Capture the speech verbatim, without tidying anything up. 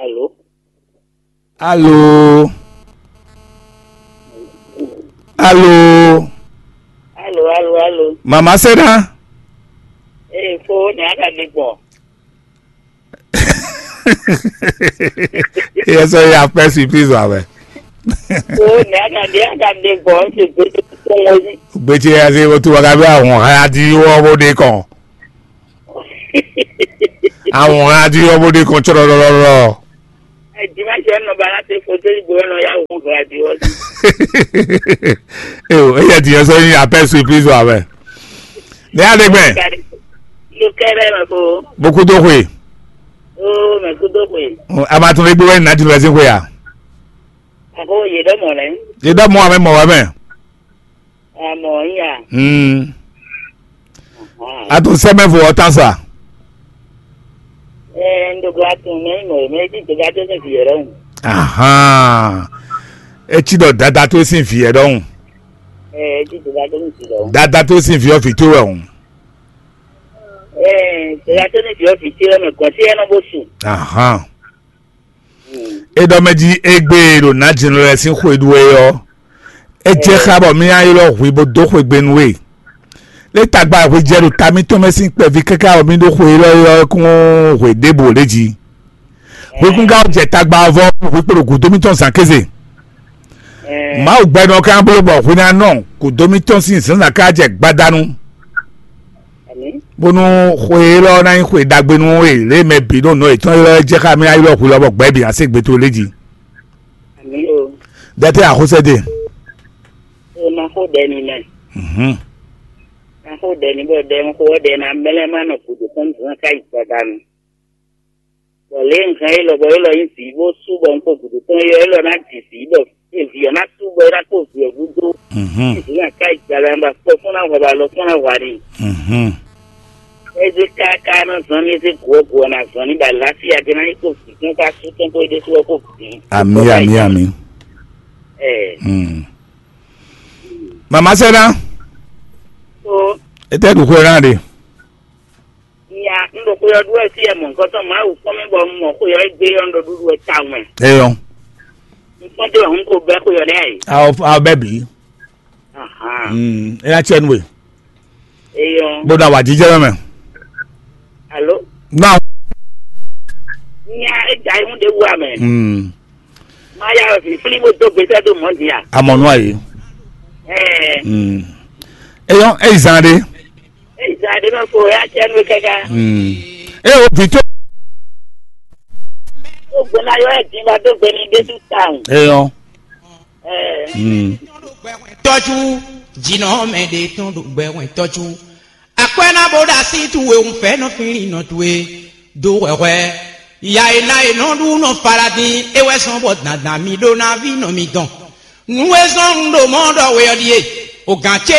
Alo. Alo. Alo. Alo, alo, alo. Mama Seda. Ee, fo, ne a ka ɖe gbɔn. Yɛ sɔ ya pɛ surprise wa wɛ. Fo, ne a ka ɖe, a ka ɖe gbɔn, se gbe to kɔn wɔ yi. Gbetse ya se wo tu wa ka bɛ ahun ha di wɔ bo de kɔn. Ahun ha di wɔ bo de kɔn tsɔlɔlɔlɔ. Dimanche nɔ ba la se foto yi bo nɔ ya wo radio. Eyo, eya di yɛ sɔ yi apɛ surprise wa wɛ. Ne ya de gbɛ. Lo kɛrɛ ma ko. Boku do xwe. O, mɛ ku do xwe. A ma tún lé gbé wɛ ní ná di lọ sí xwe ya. Ako ye dɔ mɔ lɛ. Ye dɔ mɔ amɛ mɔ wɛ mɛ. Amɔ ya. Hmm. A tún sɛmɛ fo ɔtá sa. Ɛɛ, n ɖo gba tún mɛ mɔ mɛ ti dɔgba tó ní vǐ yɛ ɖɔhun. Ahan. E ci ɖɔ dada tó sin vǐ yɛ ɖɔhun. Ɛɛ, ti dɔgba tó ní vǐ ɖɔhun. Dada tó sin vǐ ɔ vǐ tó wɛ hùn. Ɛɛ, dɔgba tó ní vǐ ɔ vǐ tó wɛ mɛ gɔn sí ɛnɔ bó su. Ahan. E ɖɔ mɛ jí égbé e ɖo nǎjínɔ lɛ́ɛ sín xwe ɖu é ɔ́, é jɛ xá bɔ mì nyi ylɔ́ hwi bó dó xwegbe nú we. Lě tagba e hwi jɛ ɖo ta mǐtɔn mɛ sín kpɛví káká bɔ mì ɖó xwe élɔ́ é ɔ́ kún hwe ɖěbǔ lě jí. Hwi kún ka jɛ tagba ɔ́ vɔ hwi kpo ɖo gǔdo mǐtɔn zǎn kéze. Mawu gbɛ́nɔ ká bló bɔ hwi ná nɔ gǔdo mǐtɔn sín zǎnzǎn ká jɛ gbadanu. Bónú xwe élɔ́ ná nyí xwe ɖagbe nú we lě e mɛ bǐ ɖo nɔ yětɔn élɔ́ jɛ xá mì ná ylɔ́ hwi lɔ bɔ gbɛ̌ bǐ ná se gbe towe lé jí. Dɛtɛ́ axosɛ́ ɖe. Ó ná xó ɖɛ n'i mɛ. Mhm. Ná xó ɖɛ n'i bɔ ɖɛ un xó ɔ́ ɖɛ ná mlɛ́ má nɔ gǔdo tɔn zɔn ká yi gbadanu. Bɔ lě e un hɛn élɔ́ bɔ élɔ́ nyí vǐ bó sú bɔ un kpo gǔdo tɔn é ɔ́, élɔ́ ná ji vǐ bɔ vǐ ɔ́ ná sú bɔ é ná kpó vǐ ɔ́ gúdo. Mhm. Vǐ nya ká yi gbala ba kpɔ fún ná hwɛ ba lɔ fún ná hwa n'i. Mhm. Eze káká ná zɔn ní eze gǔ ɔ́ gǔ ɔ́ ná zɔn ní ba láfíà gé ná nyí kó vǐ tɔn ká sú tɔn kó é ɖésú ɔ́ kó vǐ. Ami, ami, ami. Ɛ. Hmm. Mama sɛna. O. Ete ɖu xwe na ɖe. Nya, un ɖo xwe ɔ́ ɖu wɛ fí ɛ mɔ̌hunkɔtɔn Mawu kpɔ́n mì bɔ un mɔ xwe ɔ́ gbé ɔ́ un ɖo ɖuɖu wɛ tawun wɛ. Eyɔ. Un kpɔ́n dó wɛ un ko bɛ́ xwe ɔ́ ɖɛ́ ɛ. Awo awo bɛ bi. Ahan. Mm, e na tiɛ nu we. Eyɔ. Bó na wà jíjẹ mɛ. Alo. Na. Nya e da ihun ɖe wu amɛ. Mm. Ma ya wɛ fi fli bó dó gbèsè dó mɔ di a. Amɔnu ayi. Ɛɛ. Mm. Eyɔ, eyi zan ɖe. Eyi zan ɖe mɛ ko ya tiɛ nu kɛkɛ. Mm. E o vi tó. Ó gbóná yɔ ẹ̀ dín bá dó gbé ní Jésù táwọn. Eyɔ. Ẹ. Mm. Tɔ́jú jìnnà mɛ ɖe tɔn ɖo gbɛ wɛn tɔ́jú. Akwɛ́ ná bó ɖo así towe un fɛ́ nɔ fínlin nɔ towe dó hwɛhwɛ. Ya e ná e nɔ ɖu nɔ fala dín é wɛ sɔn bɔ dandan mi ɖó ná ví nɔ mi dɔn. Nú é zɔn un ɖo mɔ̌ ɖɔ we ɔ́ ɖíe, o gǎn ce